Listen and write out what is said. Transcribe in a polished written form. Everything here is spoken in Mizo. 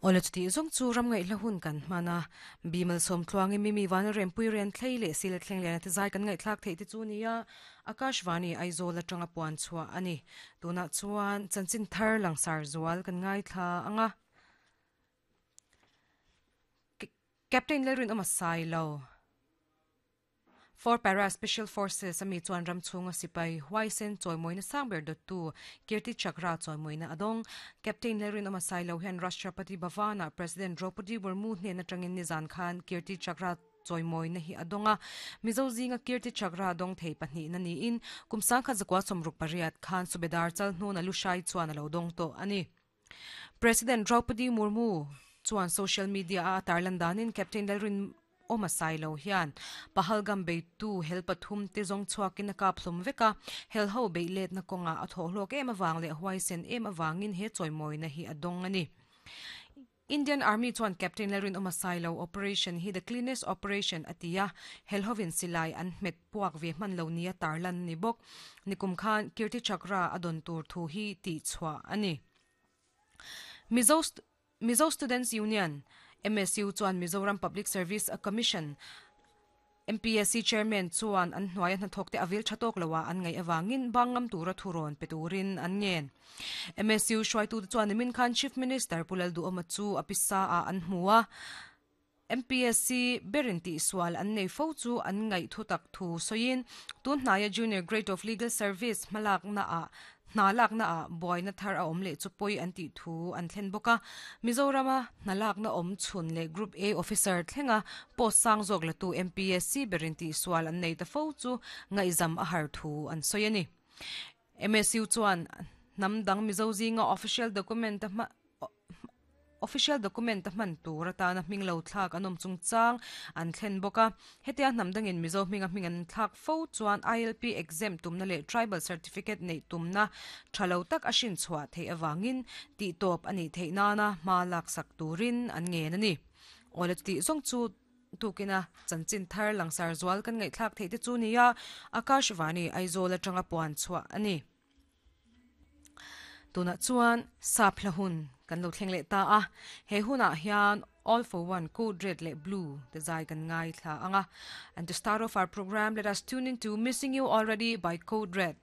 Awle chutih zawng chu ram ngaihla hun kan hman a, Bimal Sawmtluangin Mimi Vana Rempui Rian Thlei leh Sila Thleng Liana te zai kan ngaihthlak theih te chu nia Akashvani Aizawl atanga puan chhuah a ni. Tunah chuan chanchin thar langsar zual kan ngaithla ang a. Captain Lalrinawma Sailo. For Para Special Forces a mi chuan ram chhunga sipai huaisen chawimawina sang ber dawttu Kirti Chakra chawimawina a dawng. Captain Lalrinawma Sailo hian Rashtrapati Bhavan-ah President Draupadi Murmu hnen atangin nizan khan Kirti Chakra chawimawina hi a dawng a. Mizo zinga Kirti Chakra dawng thei pahnihna niin kum sangkhat zakua 68 khan Subedar Chalhnuna Lushai chuan a lo dawng tawh a ni. President Draupadi Murmu chuan social media-a a tarlan danin Captain Lalrinawma Sailo hian Pahalgam beitu hel pathum te zawng chhuakin a kap hlawm vek a, hel ho beih letna kawngah a thawh hlawk em avang leh huaisen em avangin he chawimawina hi a dawng a ni. Indian Army chuan Captain Lalrinawma Sailo operation hi the cleanest operation a ti a, hel hovin silai an hmet puak ve hman lo nia tarlan a ni bawk. Nikum khan Kirti Chakra a dawn tur thu hi tihchhuah a ni. Mizo Mizo Students Union, MSU, chuan Mizoram Public Service Commission, MPSC Chairman chuan an hnuaia hnathawk te a vil tha tawk lo a an ngaih avangin bang ngam tura thu rawn pe turin an ngen. MSU hruaitute chuan nimin khan Chief Minister Pu Lalduhawma chu a pisa ah an hmu a, MPSC berin tihsual an nei fo chu an ngaih thu tak thu sawiin tun hnaia Junior Grade of Legal Service hmalakna ah Hna lakna ah buaina thar a awm leh chu pawi an tih thu an thlen bawk a. Mizorama hna lakna awm chhun leh Group A officer thlenga post sang zawk latu MPSC berin tihsual an nei ta fo chu ngaihzam a har thu an sawi a ni. MSU chuan hnam dang Mizo zinga official document a hma Official document a hman tur atana hming lo thlak an awm chungchang an thlen bawk a. Hetia hnam dangin Mizo hminga hming an thlak fo chuan ILP exempt tumna leh Tribal Certificate neih tumna tha lo tak a hrin chhuah theih avangin tihtawp a nih theih nana hma laksak turin an ngen a ni. Awle chutih zawng chu tukina chanchin thar langsar zual kan ngaihthlak theih te chu nia Akashvani Aizawl atanga puan chhuah a ni. Tunah chuan sap hla hun kan lo thleng leh ta a, he hunah hian All for One, Code Red leh Blue te zai kan ngaithla ang a. And to start off our program, let us tune into Missing You Already by Code Red.